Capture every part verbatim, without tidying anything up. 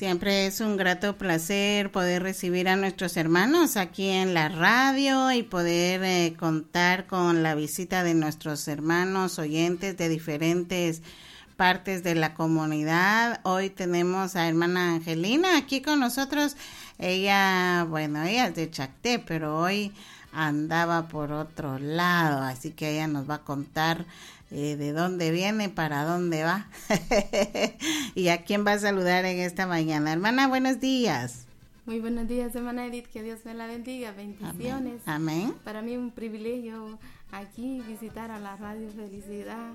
Siempre es un grato placer poder recibir a nuestros hermanos aquí en la radio y poder eh, contar con la visita de nuestros hermanos oyentes de diferentes partes de la comunidad. Hoy tenemos a hermana Angelina aquí con nosotros. Ella, bueno, ella es de Chacté, pero hoy andaba por otro lado, así que ella nos va a contar eh, de dónde viene, para dónde va y a quién va a saludar en esta mañana. Hermana, buenos días. Muy buenos días, hermana Edith, que Dios me la bendiga, bendiciones. Amén. Para mí un privilegio aquí visitar a la Radio Felicidad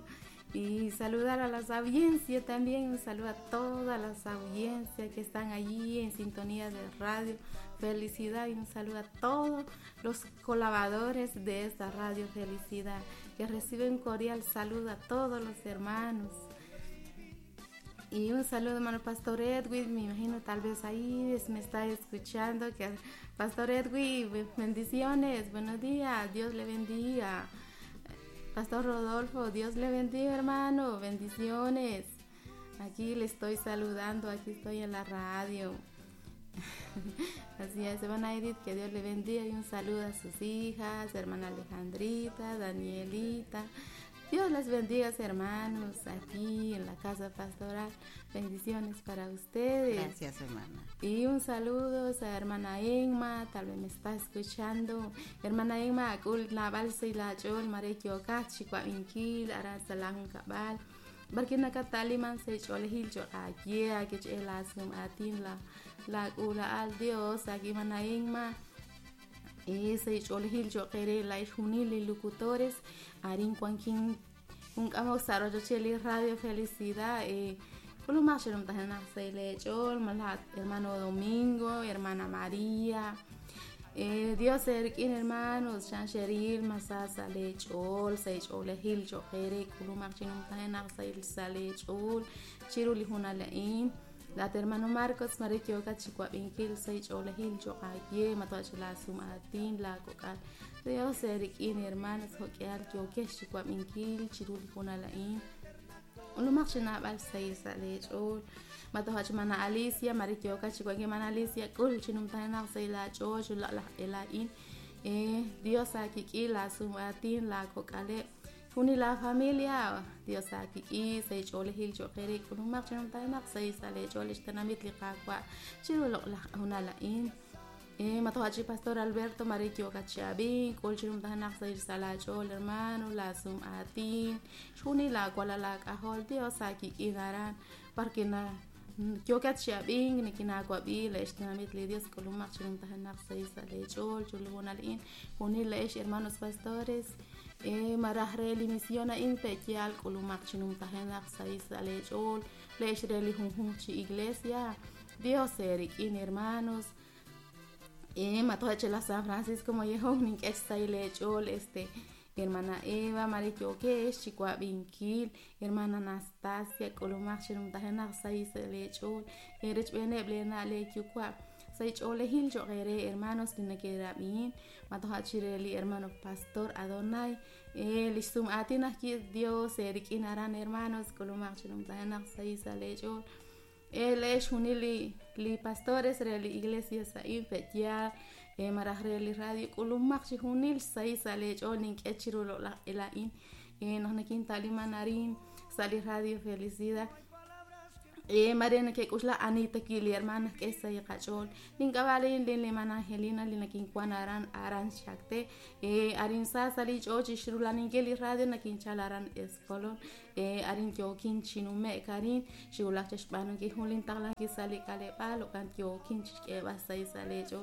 y saludar a las audiencias también, un saludo a todas las audiencias que están allí en sintonía de Radio Felicidad y un saludo a todos los colaboradores de esta Radio Felicidad, que reciben un cordial saludo a todos los hermanos. Y un saludo, hermano Pastor Edwin, me imagino tal vez ahí me está escuchando, que Pastor Edwin, bendiciones, buenos días, Dios le bendiga. Pastor Rodolfo, Dios le bendiga, hermano, bendiciones. Aquí le estoy saludando, aquí estoy en la radio. Así es, hermana Edith, que Dios le bendiga y un saludo a sus hijas, hermana Alejandrita, Danielita. Dios les bendiga, hermanos, aquí en la casa pastoral. Bendiciones para ustedes. Gracias, hermana. Y un saludo a hermana Emma, tal vez me está escuchando. Hermana Emma, akul nabal la chol mare kyoka chikwa inkil ara salahun kabal. Barkina kataliman se cholehil cho aye que chelasum atin la la ula al Dios aquí hermana Emma. Y se cholehil cho quere la junil locutores arin cuanquin un camo saro cheli Radio Felicidad eh hermano Domingo, hermana María, eh, Dios erkin hermanos, Shancheril, Masasa lechol, Seichol, Gil, Chojere, Kulumarchinum Tahena, Sail Salechol, Chiruli Junalain, la hermano Marcos, Marikioka, Chicuapinkil, Seichol, Gil, Chocaye, Matoachila, Sumatin, la Cocal, Dios erkin hermanos, Jokeal, Kiokesh, Chicuapinkil, Chiruli Junalain. Ulumaq say salechol matohach mana Alicia marikioka chikwaki mana Alicia kul chinumtanaq say la choch la la elain eh Dios akiki la sumatin la kokale juni la familia Dios akiki say cholehil choqere kulumaq chinumtanaq say salechol ixtanamit liqaqwa chiruloq la juna lain eh matohachi Pastor Alberto marikioka chabin kul chinumtanaq say salachol hermano la sumatin juni la kuala la kahol Dios akiki daran porque na kioka chabin nikina kwabi la ixtanamit li Dios kulumaq chinumtanaq say salechol chulunalin juni la ix hermanos pastores eh marajreli misiona in pekial kulumaq chinumtanaq say salechol la ixreli junjun chi iglesia Dios erikin hermanos. Eh, matoche la San Francisco Mollejón, nin lechol, este, hermana Eva, Marikiokesh, Chicuabinkil, hermana Anastasia, Colomach, Chirumtajena, Sais lechol, Erech Bene, Blena, Lekyukua, Saich Olehil, Chogere, hermanos, Linakerabin, Matohachireli, hermano Pastor Adonai, eh, Lisum Atina, Dios, Eric Inaran, hermanos, Colomach, Chirumtajena, Sais lechol. El es junili li pastores reli iglesia sain petia eh marajreli radio kulumaq chi junil sai sale chonin kechirulo la elain eh nos nakin talimanarin sali Radio Felicidad eh Mariana que kusla Anita kili hermana que sai qachol ninkabalin lin hermana Angelina linakin kuanaran aran chakte eh arin sa sali chochi shrulanin radio nakin chalaran eskolon eh arin yokin chinume karin shiulak chashpanu ki hulin tagla ki sali kale palo kan yokin chike basai sale cho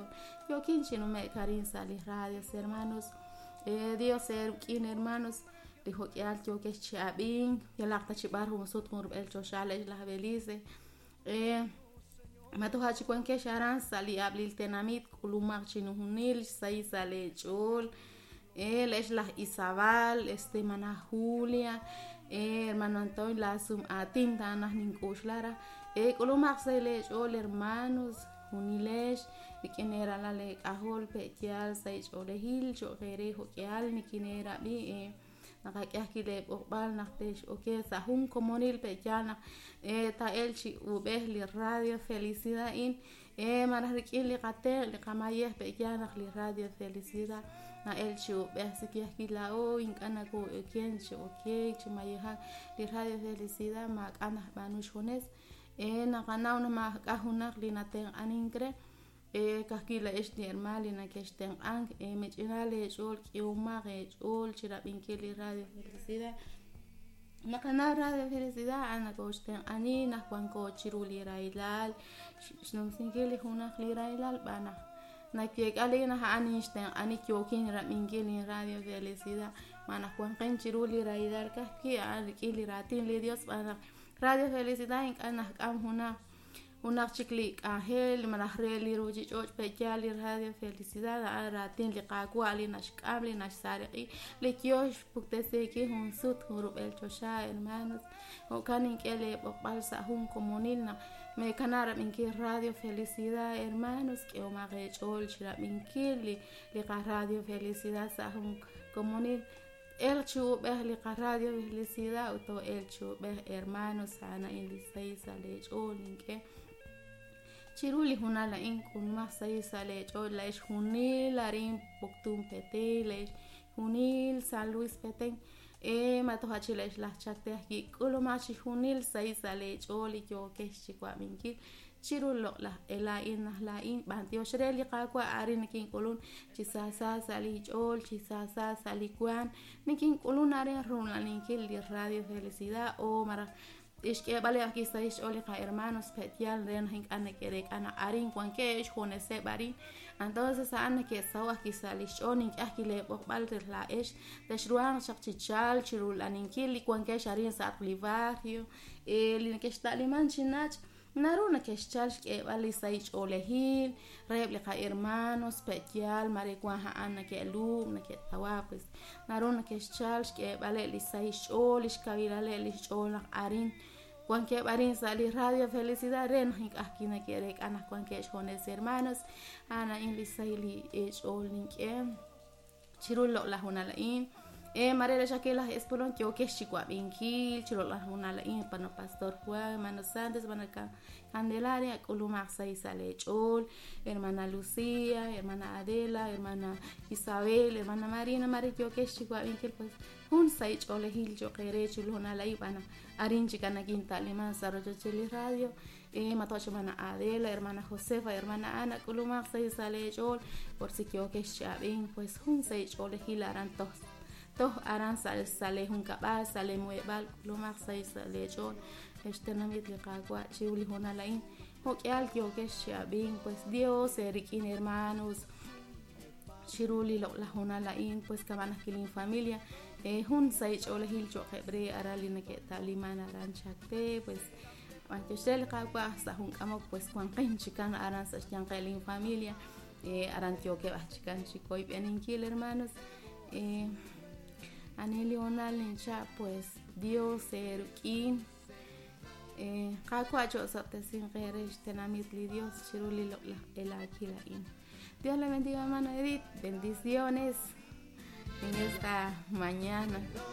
yokin chinume karin sali radio hermanos eh Dios erkin hermanos dijo que al yo que chabin yalaqta chibar humusut el choshale la Belice eh matohachi cuanque sharan sali ablil tenamit kulumaq chinuhunil sai sale chol el es la Isabel este hermana Julia eh hermano Antonio la sum atin tanas ninkushlara eh kulumaq sale chol hermanos junilesh nikinera la le kahol pekial sai cholehil chogere jokial nikinera bi eh Naqak'e ajwi' leeb'oqb'al naq tex'oke sa' jun komonil pe'yaal naq eh, ta'el chi ub'ej li Radio Felicidad in eh, malaj rik'in li qatenq' li qamayej pe'yaal naq li Radio Felicidad na'el chi ub'ej si ke ajwi' laa'o ink'a' nakoo'oken chi okeek chi mayejak li Radio Felicidad maak'a' najb'aanu xjunes eh, naqanaw naq maak'a' junaq li natenq'anink re eh, ka'ajwi' la'ex li hermaan li nakextenq'ank eh, mich'ina leech'ool k'ihomaq eech'ool chirab'inkil li Radio Felicidad naqanaw Radio Felicidad a'an nakooxtenq'ani naq wanko chiru li rahilal xnumsinkil li junaq li rahilal b'an naq nakeek'a li naq a'an ninxtenq'ani yookin rab'inkil li Radio Felicidad ma naq wanqin chiru li rahilal ka'ajwi' a'an rik'in li raatin li Dios b'an naq Radio Felicidad ink'a' najk'am junaq junaq chik li k'anjel malaj re li ruuchich'och' pe'yaal li Radio Felicidad a'an raatin li Qaawa' li naxk'am li naxsariq'i li yoo xpuktesinkil jun sut jun rub'el choxa hermanos jo'kan nink'e leeb'oqb'al sa' jun komonil naq meekana' rab'inkil Radio Felicidad hermanos k'ehomaq eech'ool chirab'inkil li li qa-Radio Felicidad sa' jun komonil el chi ub'ej li qa-Radio Felicidad ut el chi ub'ej hermanos a'an a'in li sahil sa' leech'ool nink'e chiru li junal a'in k'ulumaj sahil sa' leech'ool la'ex junil arin Poptún Petén la'ex junil San Luis Petén eh, matoja chi la'ex laj Chacte ajwi' k'ulumaj chi junil sahil sa' leech'ool li yookex chiwab'inkil chiru loq'laj laa'in naj laa'in b'antiox re li Qaawa' arin nikink'ulun chi saasa sa' li ch'ool chi saasa sa' li waam nikink'ulun arin runlaninkil li Radio Felicidad o malaj ixk'eeb'al ajwi' sa' xch'ool li qa-hermanos pe'yaal re naq ink'a' neke'reek'a naq arin wankeb' xjuneseb' arin entonces a'an neke'saho' ajwi' sa' li xch'ool nink'e ajwi' leeb'oqb'al re laa'ex texruhanq chaq chi chalk chirulaninkil li wankex arin sa' li barrio eh, li nekexta'liman chi nach' naru nakexchal xk'eeb'al li sahil ch'oolejil reheb' li qa-hermanos pe'yaal mare wan a'an neke'lub' neke'tawa pues naru nakexchal xk'eeb'aleb' li sahil xch'ool li xkawilaleb' li xch'ool naq arin wankeb' arin sa' li Radio Felicidad re naq ink'a' ajwi' neke'reek'a naq wankeb' xjunes hermanos a'an a'in li sahil li ch'ool nink'e chiru loq'laj junal a'in eh, mare la'ex ajwi' laj Espolón yookex chiwab'inkil chiru loq'laj junal a'in pano Pastor Juan hermano Santos hermana Candelaria k'ulumaq sahil sa' leech'ool hermana Lucía hermana Adela hermana Isabel hermana Marina mare yookex chiwab'inkil pues jun sahil ch'oolejil cho'q eere chiru junal a'in b'an naq arin chik nakinta'liman sa' rochoch li radio eh, matoch hermana Adela hermana Josefa hermana Ana k'ulumaq sahil sa' leech'ool por si yookex chi'ab'in pues jun sahil ch'oolejil aran toj toj aran sa' sa' leejunkab'al sa' leemuheb'aal k'ulumaq sahil sa' leech'ool xtenamit li Qaawa' chiru li hoonal a'in jo'k'ihal yookex chi'ab'in pues Dios eerik'in hermanos chiru li loq'laj hoonal a'in pues kama'an ajwi' linfamilia eh, jun sahil ch'oolejil cho'qeb' re aran li neke'ta'liman aran Chacte pues b'antiox re li Qaawa' sa' jun k'amok pues wanqin chikan aran sa' xyanqeb' linfamilia eh, aran yookeb' aj chikan chikoyb'eninkil hermanos eh, ani li hoonal nincha' pues Dios eerik'in eh, Qaawa' cho'sob'tesinq eere xtenamit li Dios chiru li loq'laj elaakil a'in Dios le bendiga hermana Edith bendiciones en esta mañana.